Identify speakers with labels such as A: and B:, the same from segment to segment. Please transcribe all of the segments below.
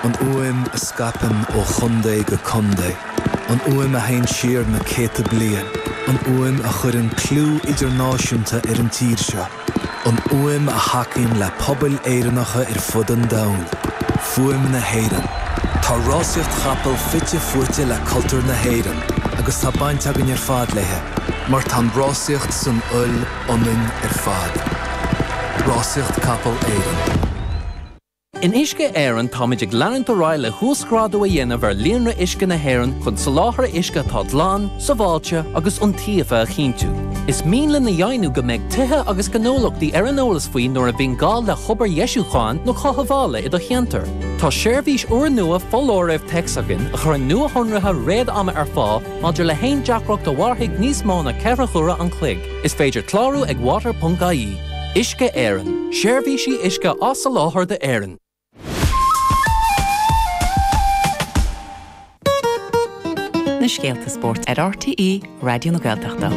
A: An fhuaim a scaipeann ó chontae go contae. An fhuaim a théann siar na céadta bliain. An fhuaim a chuireann clú idirnáisiúnta ar an tír seo. An fhuaim a thacaíonn le pobail Éireannacha ar fud an domhain. Fuaim na hÉireann. Tá rásaíocht chapall fite fuaite le cultúr na hÉireann agus tá baint againn ar fad léi, mar tá an rásaíocht san fhuil ionainn ar fad. Rásaíocht Capall Éireann.
B: In Uisce Éireann táimid ag leanúint ar aghaidh le huasghrádú a dhéanamh ar líonra uisce na hÉireann chun soláthar uisce atá glan, sábháilte agus iontaofa a chinntiú. Is mian linn a dheimhniú go mbeidh tithe agus gnólachtaí ar an eolas faoi nuair a bhíonn gá le hobair dheisiúcháin nó chothabhála i do cheantar. Tá seirbhís úrnua foláirimh téacs againn a chuireann nuashonruithe réad-ama ar fáil maidir le haon deacracht a mhairfidh níos mó ná 4 huaire an chloig. Is féidir clárú ag water.ie. Uisce Éireann, seirbhísí uisce á soláthar d'Éirinn.
C: Na scéalta spóirt ar RTÉ Raidió na Gaeltachta.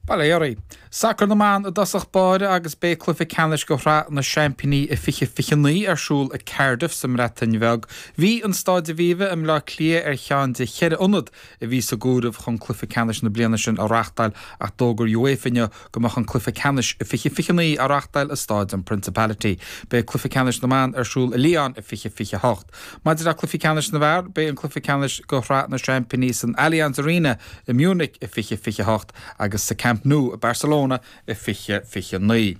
D: Bail ó Dhia oraibh. Sacar na mban i dtosach báire agus beidh cluiche ceannais de Shraith na Seaimpíní i 2029 ar siúl i Cardiff sa mBreatain Bheag. Bhí an Staid Aviva i mBleá Cliath ar cheann de cheithre ionad a bhí sa gcomhaireamh chun cluiche ceannais na bliana sin a reáchtáil ach d'fhógair UEFA inniu go mbeadh an cluiche ceannais i 2029 á reáchtáil i Stáid an Principality. Beidh cluiche ceannais na mban ar siúl i Lyon i 2028. Maidir le cluichí ceannais na bhfear, beidh an cluiche ceannais de Shraith na Seaimpíní san Allianz Arena i Munich i 2028 agus sa Camp Nou i Barcelona i 2029.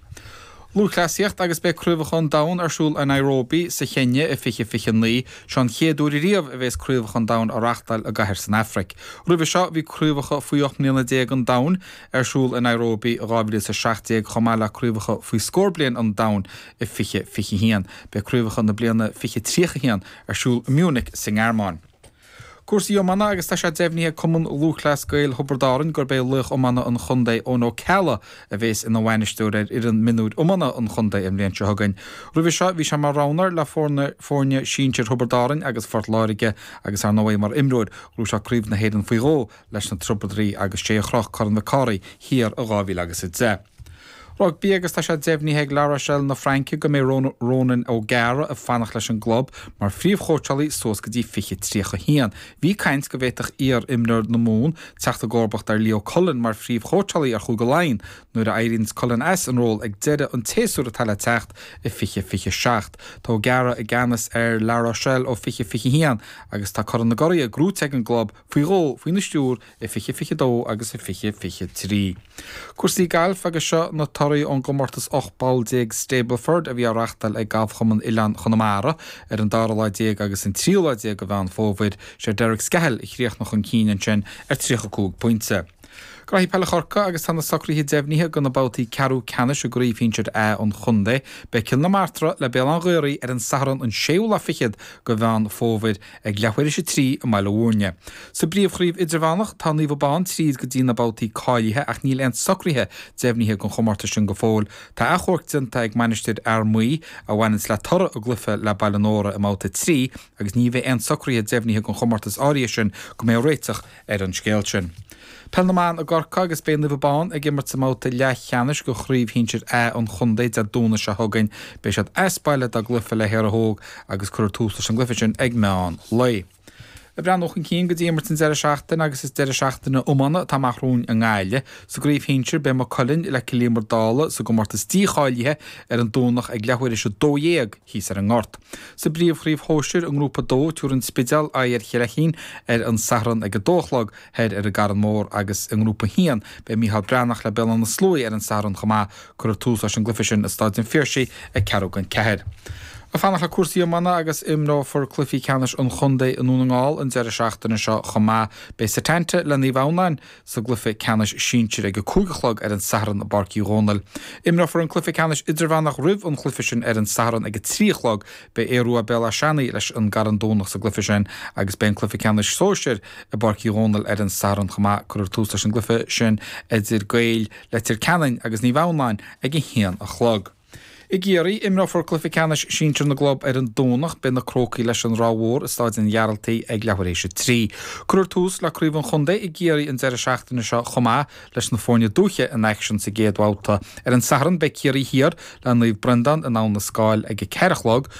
D: Lúthchleasaíocht agus beidh Craobhacha an Domhain ar siúl i Nairobi sa Chéinia i 2029. Seo an chéad uair ariamh a bheas Craobhacha an Domhain á reáchtáil i gcathair san Afraic. Roimhe seo bhí Craobhacha faoi 18 mbliana an Domhain ar siúl i Nairobi i 2017 chomh maith le Craobhacha faoi scór bliain an Domhain i 2021. Beidh Craobhacha na bliana 2031 ar siúl i Munich sa nGearmáin. Cúrsaí iomána agus tá sé deimhnithe ag Cumann Lúthchleas Gael Thiobraid Árann gurb é laoch iomána an chontae Eoin Ó Ceallaigh a bhéas ina bhainisteoir ar fhoireann mionúir iomána an chontae an bhliain seo chugainn. Roimhe seo bhí sé mar roghnóir le foirne sinsir Thiobraid Árann agus Phort Láirge agus ar ndóigh mar imreoir ghnóthaigh sé Craobh na hÉireann faoi dhó leis na Tiobradaigh agus sé a chroch Corn Mhic Cárthaigh thiar i 2010. Rugbaí agus tá sé deimhnithe ag La Rochelle na Fraince go mbeidh Ronan O'Gara ag fanacht leis an gclub mar phríomhchóitseálaí suas go dtí 2031. Bhí caint go bhféadfadh iar-imreoir na Mumhan teacht i gcomharbacht ar Leo Cullen mar phríomhchóitseálaí ar Chúige Laighean nuair a éiríonns Cullen as an ról ag deireadh an tséasúir atá le teacht i 2027. Tá O'Gara i gceannas ar La Rochelle ó 2021 agus tá Corn na gCuraithe gnóthaithe ag an gclub faoi dhó faoina stiúir i 2022 agus i 2023. Cúrsaí gailf agus seo na torthaí ón gcomórtas 18 bpoll Stableford a bhí á reachtáil ag Galfchumann Oileán Chonamara ar an dara lá déag agus an tríú lá déag de Mheán Fómhair. Sé Derek Scahill a chríochnaigh chun cinn ansin ar 35 pointe. Graithí Peile Chorcaí agus tá na socruithe deimhnithe do na babhtaí ceathrú ceannais i gCraobh Shinsir A an chontae. Beidh Cill na Martra le Béal Átha an Ghaorthaidh ar an Satharn an séú lá fichead de Mheán Fómhair. ag leathuair théis a 3 i mBaile Bhúirne. Sa bpríomhchraobh idirmheánach, tá Naomh Abán tríd go dtí na babhtaí cáilithe ach níl aon socruithe deimhnithe don chomórtas sin go fóill. Tá achomharc déanta ag Mainistir Fhear Maí a bhaineanns le toradh a gcluiche le Baile Nóra i mbabhta 3 agus ní bheidh aon socruithe deimhnithe don chomórtas áirithe sin go mbeidh réiteach ar an scéal sin. Peil na mBan i gCorcaigh agus beidh Naomh Abán ag imirt sa mbabhta leathcheannais de Chraobh Shinsir A an chontae Dé Domhnaigh seo chugainn. Beidh siad as baile dá gcluiche le hÉire Óg agus cuirfear tús leis an gcluiche sin ag meán lae. Ag breathnú chun cinn go dtí imirt an deireadh seachtaine agus is deireadh seachtaine iomána atá amach romhainn i nGaillimh. Sa gcraobh shinsir beidh Maigh Cuilinn le Cill Íomair Dálaigh sa gcomórtas dícháilithe ar an Domhnach ag leathuair théis 12 thíos ar an nGort. Sa bpríomhchraobh shóisir i nGrúpa 2 tabharfaidh an Spidéal aghaidh ar Chill Feichín ar an Satharn ag 2 a chlog thoir ar an gCarn Mór agus i nGrúpa 1 beidh Micheál Breathnach le Béal Átha na Sluaighe ar an Satharn chomh maith. Cuirfear tús leis an gcluiche sin i Staid an Phiarsaigh ag ceathrú don ceathair. Ag fanacht le cúrsaí iomána agus imreofar cluichí ceannais an chontae i nDún na nGall an deireadh seachtaine seo chomh maith. Beidh Setanta le Naomh Adhamhnáin sa gcluiche ceannais sinsir ag 5 a chlog ar an Satharn i bPáirc Uí Dhónaill. Imreofar an cluiche ceannais idirmheánach roimh an chluiche sin ar an Satharn ag 3 a chlog. Beidh Aodh Rua Béal Átha Seanaidh leis an gCarn Domhnach sa gcluiche sin agus beidh an cluiche ceannais sóisir i bPáirc Uí Dhónaill ar an Satharn chomh maith. Cuirfear tús leis an gcluiche sin idir Gaeil Leitir Ceanainn agus Naomh Adhamhnáin ag 1 a chlog. I gCiarraí, imreofar cluiche ceannais sinsir na gclub ar an Domhnach. Beidh na Crócaigh leis an Ráth Mhór i Stáid an Ghearaltaigh ag leathuair théis a 3. Cuirfear tús le Craobh an Chontae i gCiarraí an deireadh seachtaine seo chomh maith, leis na foirne dúiche in aicsean sa gcéad bhabhta. Ar an Satharn, beidh Ciarraí Thiar le Naomh Breandán in Abha na Scáil ag a 4 a chlog.